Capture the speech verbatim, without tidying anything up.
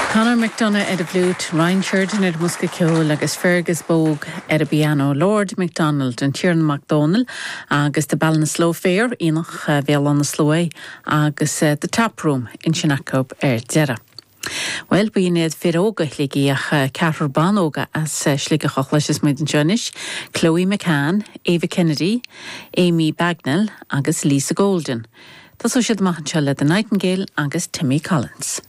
Conor McDonough ar an bhfliúit, Ryan Sheridan ar bhosca ceoil agus Fergus Bogue ar an bpianó, Lord MacDonald an Tiarna Mac Dónaill agus the Ballinasloe Fair Aonach Bhéal Átha na Sluaighe agus uh, the Tap Room ansin acu ar deireadh. Well b'in iad fir óga Shligigh ach ceathrar ban óga as Sligeach a chloisfidh muid anseo anois, Chloe McCann, Ava Kennedy, Amy Bagnall agus Lisa Golden. Tá siad amach anseo le The Nightingale agus Timmy Collins.